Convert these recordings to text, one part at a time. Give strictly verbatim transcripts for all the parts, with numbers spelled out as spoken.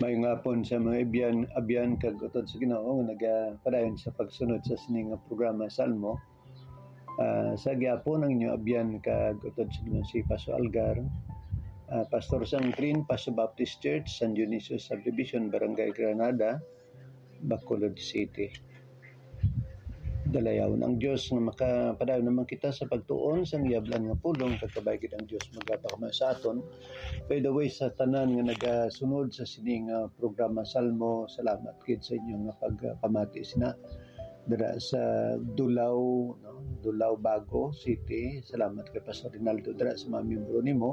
Maayong hapon sa mga abyan, abyan kag utod sa Ginoo nga nagapadayon sa pagsunod sa sini nga programa Salmo. Ah, sa gihapon ang inyo abyan kag utod sa Ginoo si Pastor Algar, ah, pastor sang Green Paso Baptist Church, San Dionisio Subdivision, Barangay Granada, Bacolod City. Dalayawon ang Dios nga makapadayon naman kita sa pagtuon sang iya balaan nga pulong, kag kabay gid ang Dios magapakama sa aton. By the way, sa tanan nga nagasunod sa sining, ah, programa Salmo, salamat gid sa inyo nga pagpamati sina dira sa Dulao, no? Dulao, Bago City. Salamat kay Pastor Rinaldo dira sa mga miyembro nimo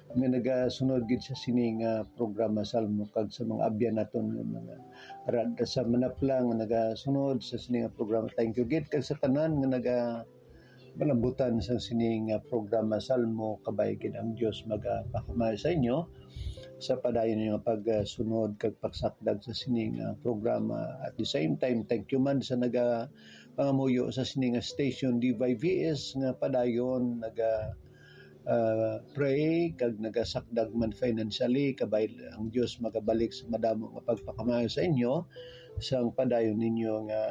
nga nagasunod gid sa sini nga programa Salmo, kag sa mga abyan naton nga mga rad sa Manapla nga nagasunod sa sini nga programa. Thank you gid, kag sa tanan nga naga malambutan sa sini nga programa Salmo, kabay gid ang Dios magapakama sa inyo sa padayon nga pagsunod kag pagsakdag sa sini nga programa. At the same time, thank you man sa naga pangamuyo sa sini nga station, D Y V S, nga padayon naga, ah, pray kag nagasakdag man financially. Kabay ang Dios magabalik sa madamo nga pagpakamaayo sa inyo sang padayon ninyo nga,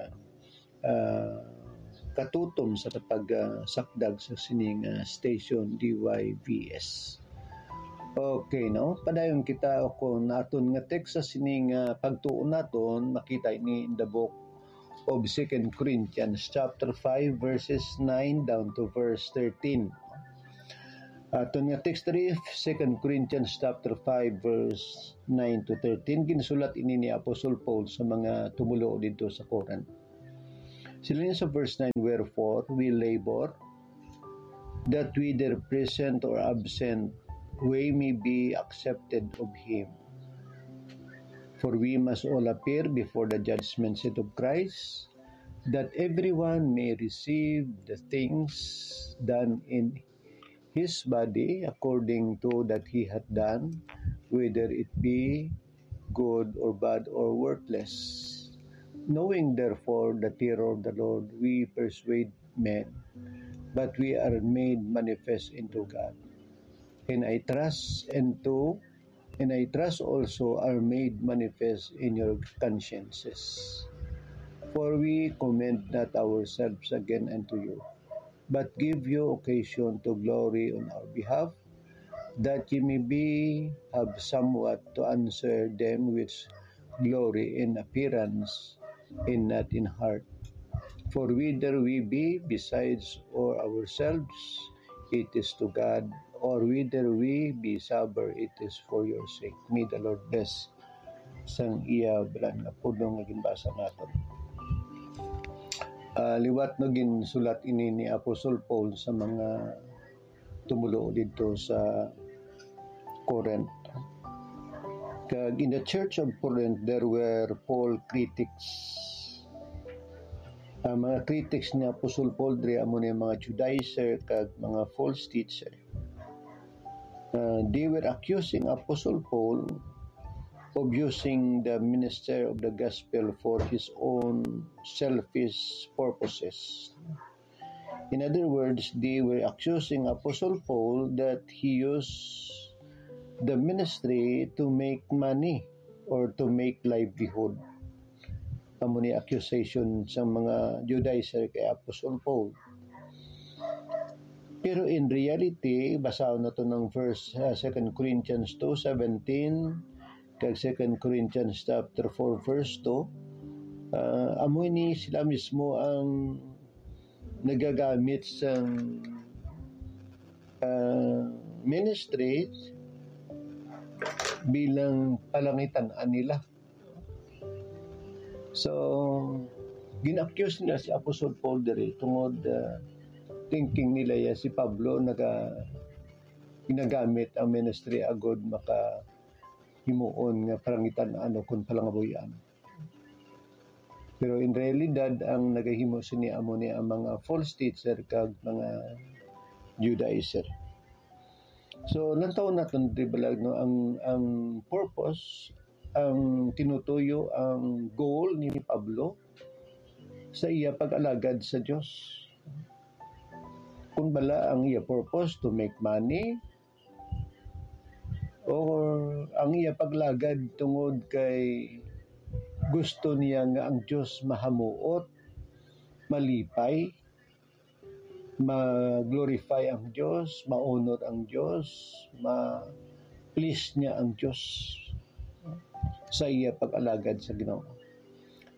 ah, katutom sa pag, ah, sakdag sa sini nga station, D Y V S. Okay, no? Padayon kita, o kung aton nga text sa sini nga pagtuon naton, makita ini in the book of Second Corinthians chapter five, verses nine down to verse thirteen. Aton nga text diri, Second Corinthians chapter five, verse nine to thirteen, ginsulat ini ni Apostle Paul sa mga tumoluo didto sa Corinth. Siling sa verse nine, "Wherefore we labor, that whether present or absent, we may be accepted of him. For we must all appear before the judgment seat of Christ, that everyone may receive the things done in his body according to that he hath done, whether it be good or bad or worthless. Knowing therefore the terror of the Lord, we persuade men, but we are made manifest into God. And I trust into and I trust also are made manifest in your consciences. For we commend not ourselves again unto you, but give you occasion to glory on our behalf, that ye may be have somewhat to answer them which glory in appearance and not in heart. For whether we be besides or ourselves, it is to God, or whether we be sober, it is for your sake." May the Lord bless sang iya balaan nga pulong nga ginbasa naton. Ah, liwat no, ginsulat ini ni Apostle Paul sa mga tumoluo didto sa Corinth. Kag in the church of Corinth, there were Paul critics. Ang mga critics ni Apostle Paul diri amo ni mga Judaizer kag mga false teacher. Uh, they were accusing Apostle Paul of using the minister of the gospel for his own selfish purposes. In other words, they were accusing Apostle Paul that he used the ministry to make money or to make livelihood. Amo ni accusation sa mga Judaizer kay Apostle Paul. Pero in reality, basahon nato ang verse, ah, Second Corinthians two seventeen, kag Second Corinthians chapter four, verse two. Ah, amo ni sila mismo ang nagagamit sang, ah, ministry bilang palangitan-an nila. So, gin-accuse nila si Apostle Paul diri tungod, ah, thinking nila ya si Pablo naga-, ginagamit ang ministry agud makahimuon nga palangitan-an o kon palangabuy-an. Pero in realidad, ang nagahimo sini amo ni ang mga false teacher kag mga Judaizer. So, lantaw naton, di ba, no, ang, ang purpose, ang tinutuyo, ang goal ni Pablo sa iya pag-alagad sa Dios. Kung bala ang iya purpose to make money, or ang iya paglagad tungod kay gusto niya nga ang Dios mahamuot, malipay, ma-glorify ang Dios, ma-honor ang Dios, ma-please niya ang Dios sa iya pag-alagad sa Ginoo.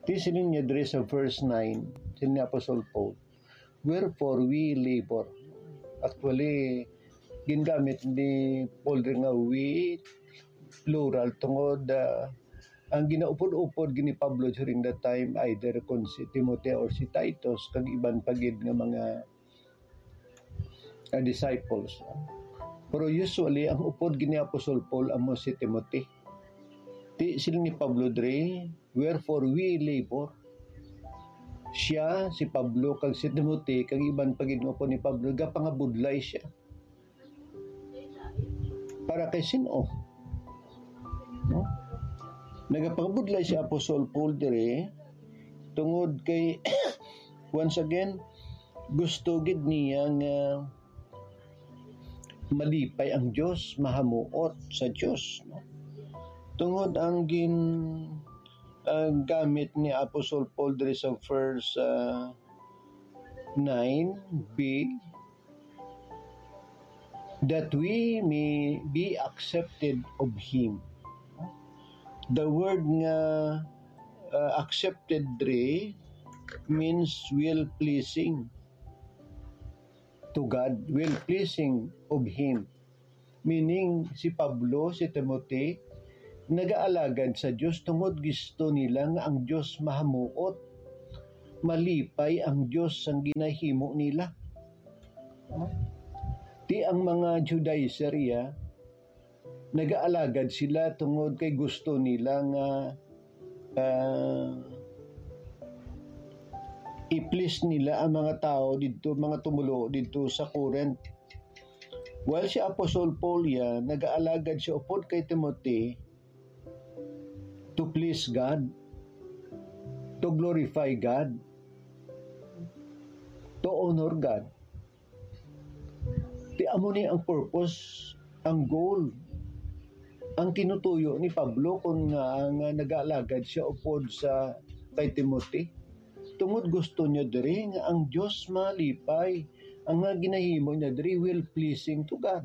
Di siling niya diri sa verse nine, siling ni Apostol Paul, "Wherefore we labor." Actually, gingamit ni Paul diri nga "we", plural, tungod, ah, ang ginaupod-upod gid ni Pablo during that time, either kon si Timoteo or si Titus, kag iban pa gid nga mga, ah, disciples. Pero usually, ang upod gid ni Apostol Paul amo si Timothy. Ti, siling ni Pablo diri, "Wherefore we labor." Siya, si Pablo, kag si Timothy, kag iban pa gid nga upod ni Pablo, gapangabudlay siya. Para kay sin-o? No? Nagapangabudlay si Apostol Paul diri tungod kay, once again, gusto gid niya nga malipay ang Dios, mahamuot sa Dios, no? Tungod ang gin-, ah, gamit ni Apostol Paul diri sa verse, ah, nine B, "That we may be accepted of Him." The word nga, uh, accepted diri means well-pleasing to God, well-pleasing of Him. Meaning, si Pablo, si Timothy, nagaalagad sa Dios tungod gusto nila nga ang Dios mahamuot, malipay ang Dios sang ginahimo nila. Ti ang mga Judaizer iya, nagaalagad sila tungod kay gusto nila nga, ah, i-please nila ang mga tawo didto, mga tumoluo didto sa Corinth. While si Apostol Paul iya, nagaalagad siya upod kay Timothy to please God, to glorify God, to honor God. Ti amo ni ang purpose, ang goal, ang tinutuyo ni Pablo kon nga, nga nagaalagad siya upod sa kay Timothy. Tungod gusto niya diri nga ang Dios malipay, ang nga ginahimo niya diri well-pleasing to God.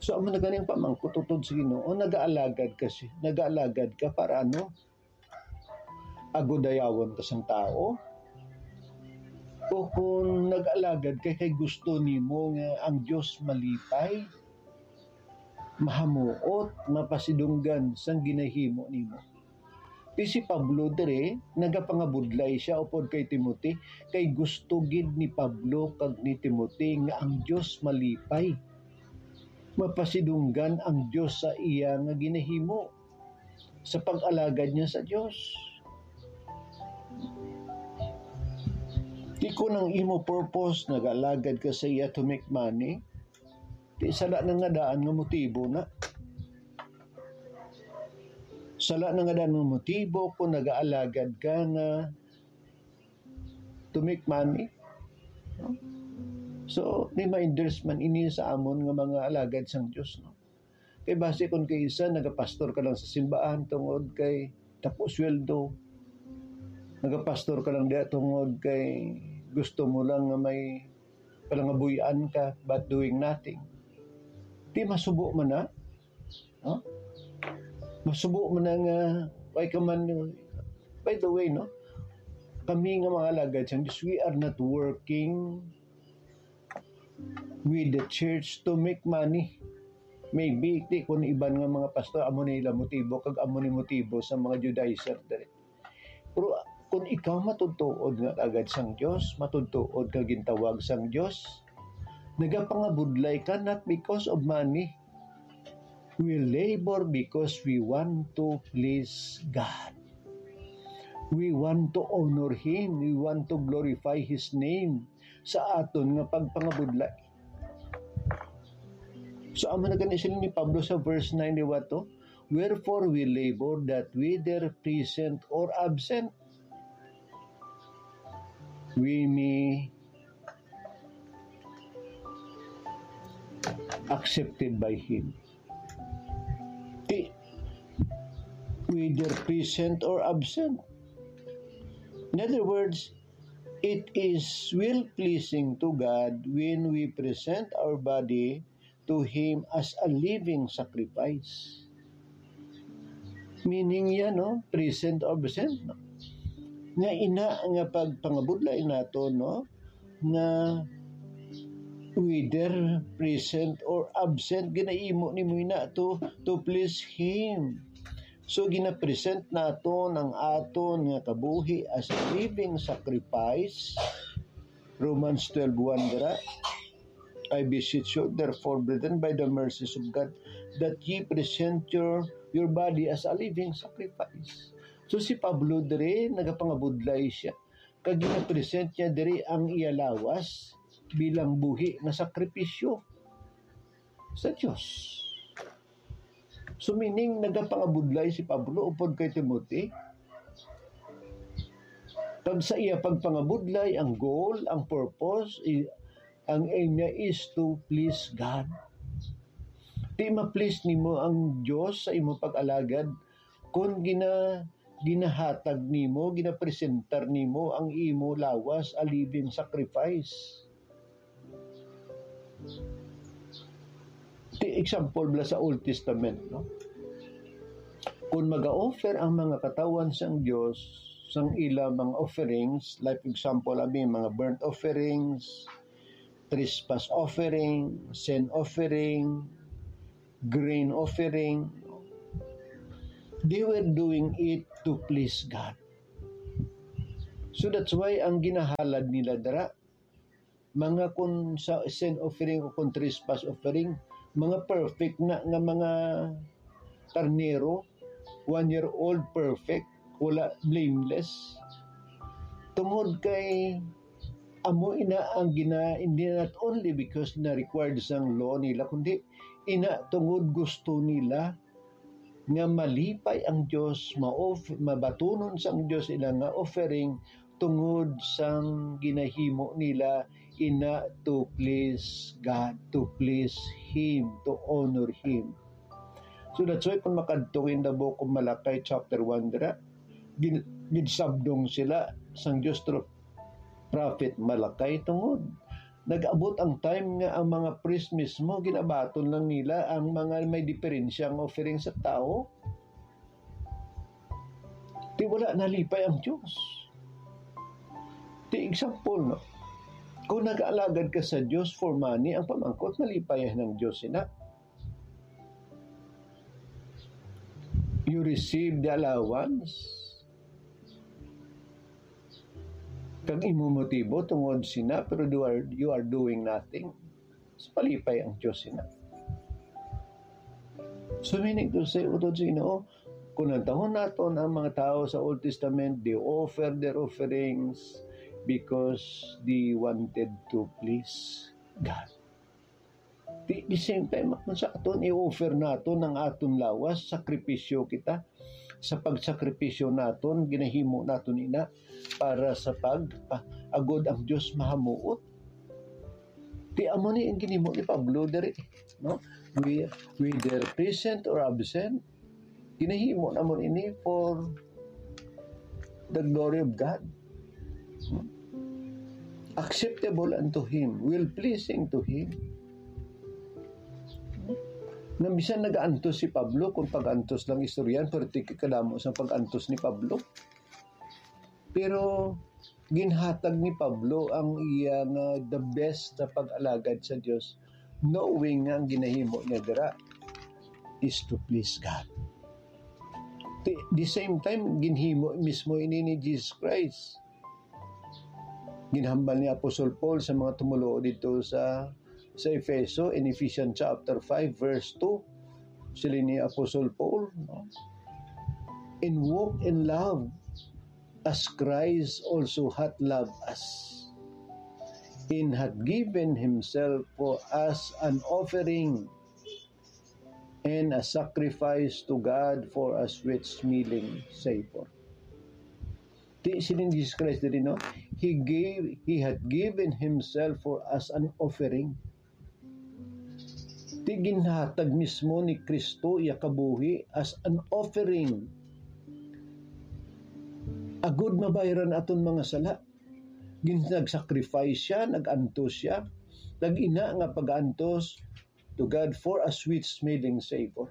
So, amo na gani ang pamangkot utod sa Ginoo, nagaalagad ka si-, nagaalagad ka para ano? Agudayawon ka sang tawo? O kung nag-alagad ka kay gusto nimo nga ang Dios malipay, mahamuot, mapasidunggan sang ginahimo nimo? Ti si Pablo diri, nagapangabudlay sia upod kay Timothy, kay gusto gid ni Pablo kag ni Timothy nga ang Dios malipay. Mapasidunggan ang Dios sa iya nga ginahimo, sa pag-alagad niya sa Dios. Di kon ang imo purpose, nag-alagad ka sa iya to make money, di sala na nga daan nga motibo na. Sala na nga daan nga motibo kung nag-aalagad ka nga to make money. No? So, reminders man ini sa amon nga mga alagad sang Dios, no? Kay basi kung kay isa, nagapastor ka lang sa simbahan tungod kay dako sweldo. Nagapastor ka lang diha tungod kay gusto mo lang nga may palangabuy-an ka, but doing nothing. Di masubo man na, no? Masubo man na nga, why ka man, by the way, no? Kami nga mga alagad sang Dios, we are not working with the church to make money. Maybe, ti, kung iban nga mga pastor, amo ni ila motibo, kag amo ni motibo sa mga Judaizer diri. Pero kung ikaw matutuod nga alagad sang Dios, matutuod nga gintawag sang Dios, nagapangabudlay ka not because of money. We labor because we want to please God. We want to honor Him. We want to glorify His name sa aton nga pagpangabudlay. So, amo na gani siling ni Pablo sa verse nine, di ba to? "Wherefore we labor, that whether present or absent, we may accepted by Him." whether present or absent. In other words, it is well-pleasing to God when we present our body to Him as a living sacrifice. Meaning yan, no? Present or absent, no? Nga ina nga pagpangabudlay nato, no? Nga whether present or absent, ginahimo nimo ina to, to please Him. So, ginapresent naton ang aton nga kabuhi as a living sacrifice. Romans twelve one dira, "I beseech you, therefore, brethren, by the mercies of God, that ye present your, your body as a living sacrifice." So, si Pablo diri, nagapangabudlay siya. Kag ginapresent niya diri ang iya lawas bilang buhi nga sakripisyo sa Dios. So, meaning, nagapangabudlay si Pablo upod kay Timothy. Kag sa iya pagpangabudlay, ang goal, ang purpose, i-, ang aim niya is to please God. Di ma-please nimo ang Dios sa imo pag-alagad kung gina-, ginahatag nimo, ginapresentar nimo ang imo lawas a living sacrifice. Ti example bala sa Old Testament, no? Kung mag-offer ang mga katawhan sang Dios sang ila mga offerings, like example, abi, mga burnt offerings, trespass offering, sin offering, grain offering, they were doing it to please God. So that's why ang ginahalad nila dira, mga kun sa sin offering o kun trespass offering, mga perfect na nga mga karnero, one year old, perfect, wala, blameless. Tungod kay amo ina ang gina-, hindi, not only because na required sang law nila, kundi ina tungod gusto nila nga malipay ang Dios, ma-off-, mabatunon sang Dios ila nga offering tungod sang ginahimo nila ina to please God, to please Him, to honor Him. So that's why kung makadto in the book of Malachi chapter one dira, gin-, ginsabdong sila sang Dios through Prophet Malachi tungod nag-abot ang time nga ang mga priest mismo ginabaton lang nila ang mga may diferensya nga offering sa tawo. Ti wala nalipay ang Dios. Ti example, no? Kung nag-aalagad ka sa Dios for money, ang pamangkot, nalipay ang Dios ina. You receive the allowance. Kag imo motibo tungod sina, pero you are, you are doing nothing. So, palipay ang Dios sina. So, meaning to say, utod sa Ginoo, kung nantahon naton ang mga tawo sa Old Testament, they offer their offerings because they wanted to please God. Di, the same time, kung sa aton i-offer naton ang aton lawas, sakripisyo kita sa pagsakripisyo naton, ginahimo naton ina para sa pag, ah, agod ang Dios mahamuot. Di amo ni ang ginhimo ni Pablo diri, no? We, whether present or absent, ginahimo namon ini for the glory of God. Acceptable unto Him, well-pleasing to Him. Nga bisan nagaantos si Pablo, kung pag-antos lang istoryan, pero ti kadamo sang pag-antos ni Pablo. Pero ginhatag ni Pablo ang iya nga the best sa pag-alagad sa Dios, knowing nga ang ginahimo niya dira is to please God. Ti-, the same time, ginhimo mismo ini ni Jesus Christ. Ginhambal ni Apostol Paul sa mga tumoluo dito sa, sa Efeso, in Ephesians chapter five, verse two. Siling ni Apostol Paul, no? "And walk in love, as Christ also hath loved us, and hath given himself for us an offering and a sacrifice to God for a sweet-smelling savor." Ti siling Jesus Christ diri, no? He gave, He hath given Himself for us an offering. Ti ginhatag mismo ni Cristo iya kabuhi as an offering agud mabayran aton mga sala. Gin-, nag-sacrifice siya, nag-antos siya, nag-ina nga pag-antos to God for a sweet-smelling savor.